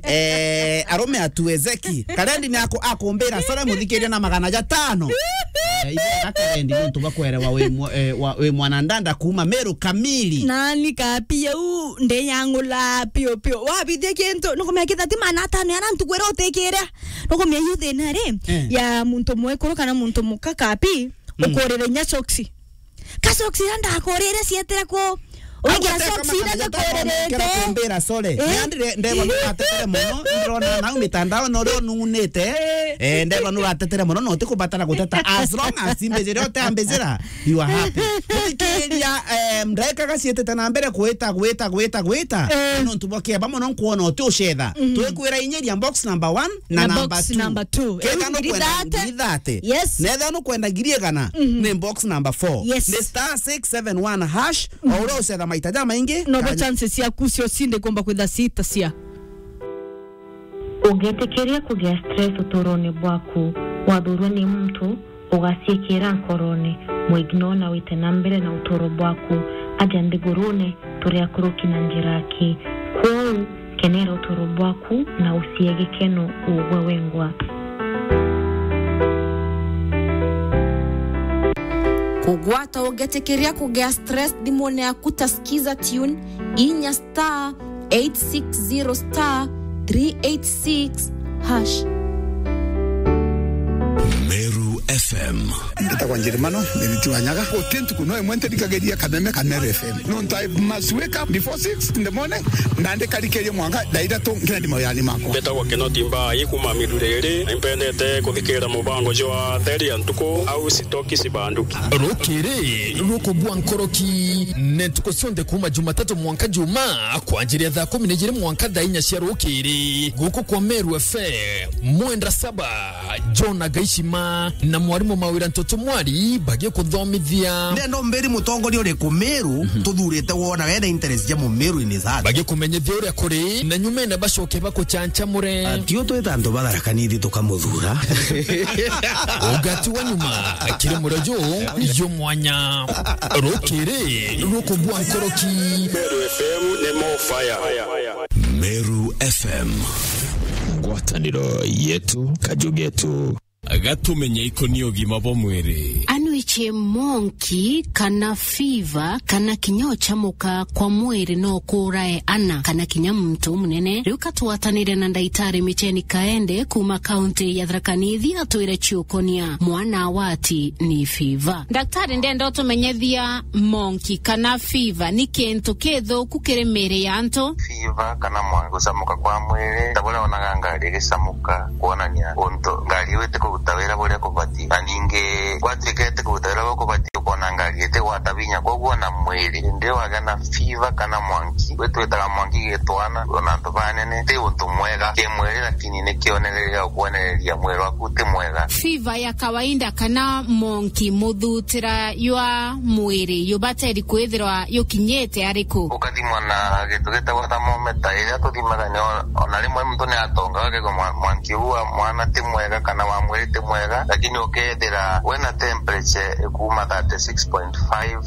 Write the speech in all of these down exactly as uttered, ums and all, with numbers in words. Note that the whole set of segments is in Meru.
Eh, arume atuezeki. Karendi ni aku-, akumbira sore muthikiria na magana jatano. Eh, ibu na Karendi nontu bwa kwerewa wi mwa-, eh, wa-, wi mwanandanda kuuma Meru kamili. Nani kapia u ndeyangula pio pio. Wabithia kintu, nukumenya kithati mana atano yana ntukwira utikire. Nukumenya yu thina ri, eh, ya muntu mwekuru kana muntu muka kapi, mm, ukurire inya soksi. Ka soksi ira ndakurire cietire ku? Au ugira guteka soksi ira makana jatano ndakurire kumbira sore. Eh? Ni andire ndeba nuratetere muno, ndirona nau mitandao no rio nunite. Eh, ndeba nuratetere muno, no tikubatara guteta. As long as imbijira uteambijira, you are happy. Muthikiria, eh, ndeka gacietete na mbere gwita, gwita, gwita, gwita. Eh. Nontu bwa kieba muno nkuona uti ucetha. Mhm. Twikwira inyiria box number one na na number box two. Number two. Kenda nukwenda ngiri thirty. Yes. Netha nukwenda ngiri igana, mhm, ni box number four. Yes. Ni star six seven one hash, o uria ucetha maita jamaingi. Nobo chances ciaku cio cinde kumba kwitha cita cia. Ungitikiria kugia stress uturone bwaku, wathurwa ni muntu, ugaciikira nkorone, mwignore na wite na mbere na uturo bwaku. Aja nthigurune, turi akuruki na njira aki. Kwou, kenera uturo bwaku na ucie gikeno ugwe wengwa. Kugwata ugetikiria kugia stress thimune yaku ta Skiza Tune, inya star eight six zero star three eight six hash. Meru F M. Ndetagwa Njerimano, Mĩriti wa Nyaga. Guti ntuku no imwe ntirikagiria kameme ka Meru F M. Nontu I must wake up before six in the morning, na ndikarikeria mwanka thaa ithatu nkendi mawirani makwa. Mbetagwa Kinoti Mbai kuma Miruriri, na impendete kuthikirira mubango jwa Theri ya Ntuku au Sitoki Sibanduki. Rukiri rukubua nkoroki, ne ntuku cionthe kuma Jumatatu mwanka Juma, kwanjiria thaa kumi na ijiri mwanka thaa inya cia rukiri, guku kwa Meru F M, mwenda saba. John Agaishima na mwarimu Mawira Ntoto Mwari bagikuthomithia. Ndenda umbiri mutongoria uriku Meru, mhm, tuthurite wona wena interest ja Mumeru in his heart. Bagikumenyithia uria kuri, na nyumene bacoke bakuchanchamure. Ati u twita antu ba Tharaka Nithi tukamuthura. Ugati wa nyuma, kiri murio ju, ju mwanya. Rukiri rukubua nkoroki. Meru F M ni more fire. Meru F M. Ngwataniro yetu, kaju getu. Gatumenye ikoni ugima bwa mwiri. Anwichie monki kana fiva kana kinya uchamuka kwa mwiri no kurae ana kana kinya muntu munene. Riu katwatanire na ndaitari Micheni Kaende kuma kaunti ya Tharaka Nithi atwire ciukonia mwana wati ni fiva. Daktari, ndenda utumenyethia monki kana fiva ni kintu kithuku kiri miri ya antu. Fiva kana mwangi gucamuka kwa mwiri, ta buria wonaga ngari igicamuka, kwonania untu ngari iu itikuruta wira buria kubati. Na ningi gwatuika itikuruta wira buria kubati, ukona ngari itigwata vinya, koguo na mwiri. Indi wagia na fiva kana mwangi, gwi twitaga mwangi gitwana, ona antu banene, ti untu mwega ki mwiri, lakini ni kionereria gia ukwonereria mwiri waku ti mwega. Fiva ya kawaida kana monki, muthutira jwa mwiri jubateri kwithirwa jukinyite ariku? Ukathimwa na gintu gitagwa thermometer, iria tuthimaga ni o-, ona rimwe muntu ni atonga, akegwa mwa-, mwanki uu wa mwana ti mwega kana wa mwiri ti mwega, lakini ukethira wina temperature ikuuma thirty six point five,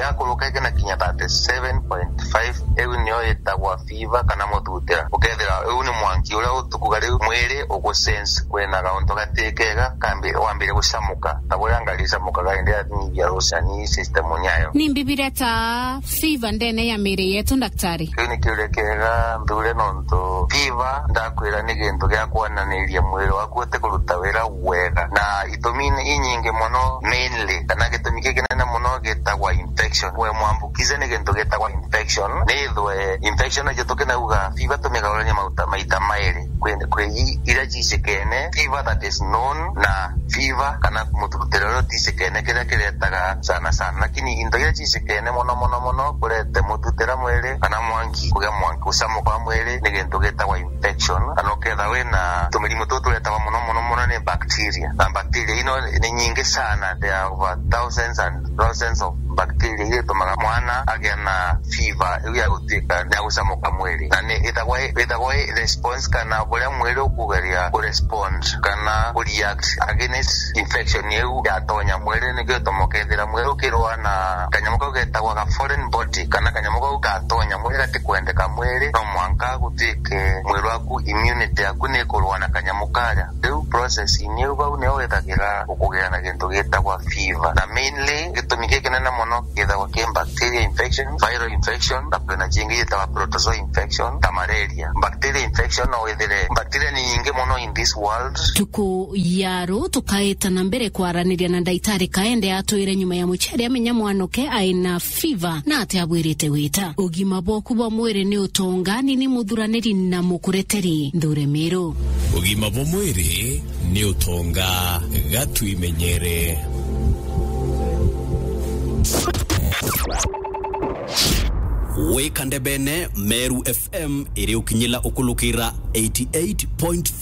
yakuruka ikina kinya thirty seven point five, iu niyo itagwa fiva kana muthutira. Ukethira iu ni mwanki uria utukuga riu mwiri ugusense kwina gauntu gatikega, kambi-, wambire gucamuka, ta buria ngari icamukaga indi yanyibia ruciani system yayo. Ni mbibiria ta fiva ndene ya miri yetu, daktari? Kiu ni kiuria kiega nthure, nontu fiva, ndakwira, ni gintu gia kwonaniria mwiri waku utikuruta wira wega, na itumi ni inyingi muno, mainly, kana gitumi kikinene muno gitagwa infection. We mwambukize ni gintu gitagwa infection. Nithwe infection ijo tukinauga fiva tumigaurania mauta maita mairi. Kwi, kwi i-, iria cicikene, fiva that is known, na fiva kana muthutira uria uticikene, kiria kiretaga sana sana. Lakini into iria cicikene muno muno muno kurete muthutira mwiri kana mwanki, kugia mwanki, gucamuka kwa mwiri, ni gintu gitagwa infection. Kana uketha wina tumirimu tuu turetagwa muno muno muno ni bacteria. bacteria. Na bacteria ino ni nyingi sana, there are over thousands and thousands of bacteria iria itumaga mwana agia na fever iu ya gutuika ni agucamuka mwiri, na ni ithagwa i- ithagwa i response kana buria mwiri ukugeria ku respond kana ku react against infection iu yatonya mwiri, nikio ituma ukethira mwiri ukirua na kanyamu kau getagwa ga foreign body, kana kanyamu kau gatonya mwiri gatikwendeka mwiri, no mwanka gutuike mwiri waku, immunity yaku ni ikurua na kanyamu karia. Riu process-ini iu bau nio withagira ukugia na gintu gitagwa fever. Na mainly gitumi gikinene mono githagwa ki bacteria infection, viral infection, na kwina jingi yitagwa protozoa infection, ta malaria. Bacteria infection no withire, bacteria ni nyingi mono in this world. Tuku ya ru tukaita na mbere kwaraniria na ndaitari kaende atwire nyuma ya muciari amenya mwanoke aina fever na ati abwirite wita. Ugima bwaku bwa mwiri ni utonga, ni ni muthuraniri na mukureteri Nthure Miru. Ugima bwa mwiri ni utonga, gatwimenyere. Wika ndebene, Meru F M iri ukinyila ukulukira eighty eight point three.